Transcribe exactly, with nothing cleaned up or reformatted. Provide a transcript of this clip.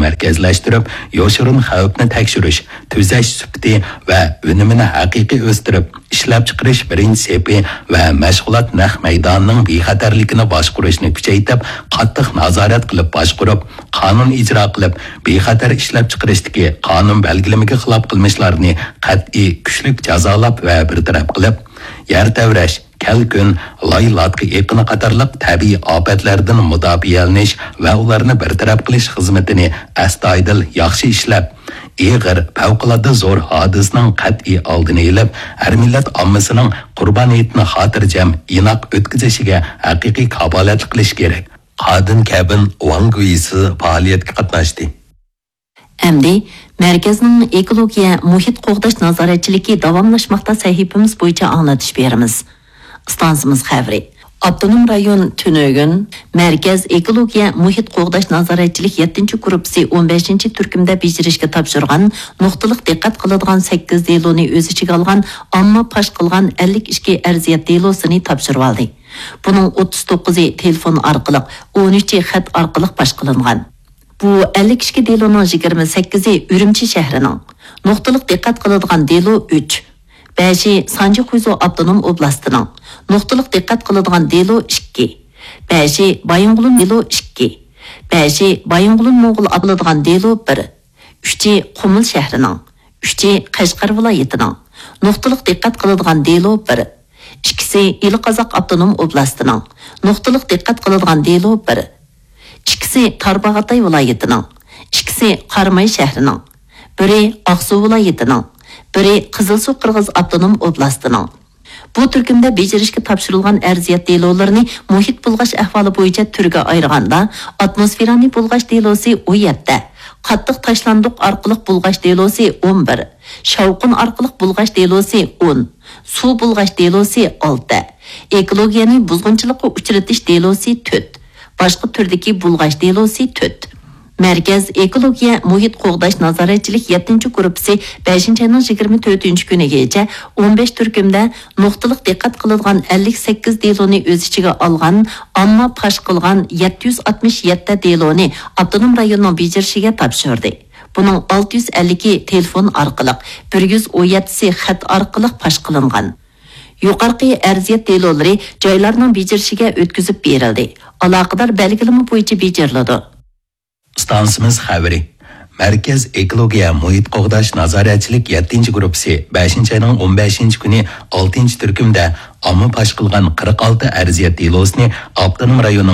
مەركەزلەشتۈرۈپ، يوشۇرۇن خەۋپنى تەكشۈرۈش، تۈزەش سۈپىتى ۋە ئۈنۈمىنى ھەقىقىي ئۆستۈرۈپ، ئىشلەپچىقىرىش بىرىنچى سېپى ۋە مەشغۇلات نەق مەيدانىنىڭ بىخەتەرلىكىنى باشقۇرۇشنى كۈچەيتىپ، قاتتىق نازارەت قىلىپ باشقۇرۇپ، قانۇن ئىجرا قىلىپ، بىخەتەر ئىشلەپچىقىرىشتىكى قانۇن بەلگىلىمىگە خىلاپ قىلمىشلارنى قەتئىي، كۈچلۈك جازالاپ ۋە بىر تەرەپ قىلىپ، يەر تەۋرەش، كەلكۈن، لاي لاتكا ئېقىنى قاتارلىق تەبىئىي ئاپەتلەردىن مۇداپىئەلىنىش ۋە ئۇلارنى بىر تەرەپ قىلىش خىزمىتىنى ئەستايىدىل ياخشى ئىشلەپ، ئېغىر، پەۋقۇلئاددە زور ھادىسىنىڭ قەتئىي ئالدىنى ئېلىپ، ھەر مىللەت ئاممىسىنىڭ قۇربان ھېيتنى خاتىرجەم، ئىناق ئۆتكۈزۈشىگە ھەقىقىي كاپالەتلىك قىلىش كېرەك. قادىن كەبىن ۋاڭ گۇيسى پائالىيەتكە قاتناشتى. ئەمدى مەركەزنىڭ ئېكولوگىيە مۇھىت قوغداش نازارەتچىلىكى داۋاملاشماقتا سەھىپىمىز بويىچە ئاڭلىتىش بېرىمىز. ئىستانسىمىز خەۋىرى. ئاپتونوم رايون تۈنۈگۈن مەركەز ئېكولوگىيە مۇھىت قوغداش نازارەتچىلىك يەتتىنچى گۇرۇپپىسى ئون بەشىنچى تۈركۈمدە بېجىرىشكە تاپشۇرغان نۇقتىلىق دىققەت قىلىدىغان سەككىز دېلونى ئۆز ئىچىگە ئالغان ئامما پاش قىلغان ئەللىك ئىككى ئەرزىيەت دېلوسىنى تاپشۇرۇۋالدى. بۇنىڭ ئوتتۇز توققۇزى تېلېفون ئارقىلىق، ئون ئۈچى خەت ئارقىلىق پاش قىلىنغان. بۇ ئەللىك ئىككى دېلونىڭ يىگىرمە سەككىزى ئۈرۈمچى شەھىرىنىڭ، نۇقتىلىق دىققەت قىلىدىغان دېلو ئۈچ، بەشى سانجى خۇيزۇ ئاپتونوم ئوبلاستىنىڭ، نۇقتىلىق دىققەت قىلىدىغان دېلو ئىككى، بەشى بايىنغولىن دېلو ئىككى، بەشى بايىنغولىن موڭغۇل قىلىدىغان دېلو بىر، ئۈچى قۇمۇل شەھىرىنىڭ، ئۈچى قەشقەر ۋىلايىتىنىڭ، نۇقتىلىق دىققەت قىلىدىغان دېلو بىر، ئىككىسى ئىلى قازاق ئاپتونوم ئوبلاستىنىڭ، نۇقتىلىق دىققەت قىلىدىغان دېلو بىر، ئىككىسى تارباغاتاي ۋىلايىتىنىڭ، ئىككىسى قاراماي شەھىرىنىڭ، بىرى ئاقسۇ ۋىلايىتىنىڭ، بىرى قىزىلسۇ قىرغىز ئاپتونوم ئوبلاستىنىڭ. بۇ تۈركۈمدە بېجىرىشكە تاپشۇرۇلغان ئەرزىيەت دېلولىرىنى مۇھىت بۇلغاش ئەھۋالى بويىچە تۈرگە ئايرىغاندا، ئاتموسفېرانى بۇلغاش دېلوسى ئون يەتتە، قاتتىق تاشلاندۇق ئارقىلىق بۇلغاش دېلوسى ئون بىر، شاۋقۇن ئارقىلىق بۇلغاش دېلوسى ئون، سۇ بۇلغاش دېلوسى ئالتە، ئېكولوگىيەنى بۇزغۇنچىلىققا ئۇچرىتىش دېلوسى تۆت، باشقا تۈردىكى بۇلغاش دېلوسى تۆت. مەركەز ئېكولوگىيە مۇھىت قوغداش نازارەتچىلىك يەتتىنچى گۇرۇپپىسى بەشىنچى ئاينىڭ يىگىرمە تۆتىنچى كۈنىگىچە ئون بەش تۈركۈمدە نۇقتىلىق دىققەت قىلىدىغان ئەللىك سەككىز دېلونى ئۆز ئىچىگە ئالغان، ئامما پاش قىلغان يەتتە يۈز ئاتمىش يەتتە دېلونى ئاپتونوم رايوننىڭ بېجىرىشىگە تاپشۇردى. بۇنىڭ ئالتە يۈز ئەللىكى تېلېفون ئارقىلىق، بىر يۈز ئون يەتتىسى خەت ئارقىلىق پاش قىلىنغان. يۇقىرىقى ئەرزىيەت دېلولىرى جايلارنىڭ بېجىرىشىگە ئۆتكۈزۈپ بېرىلدى. ئالاقىدار بەلگىلىمە بويىچە بېجىرىلىدۇ. ئىستانسىمىز خەۋىرى. مەركەز ئېكولوگىيە مۇھىت قوغداش نازارەتچىلىك يەتتىنچى گۇرۇپپىسى بەشىنچى ئاينىڭ ئون بەشىنچى كۈنى ئالتىنچى تۈركۈمدە ئامما پاش قىلغان قىرىق ئالتە ئەرزىيەت دېلوسىنى ئاپتونوم رايوننىڭ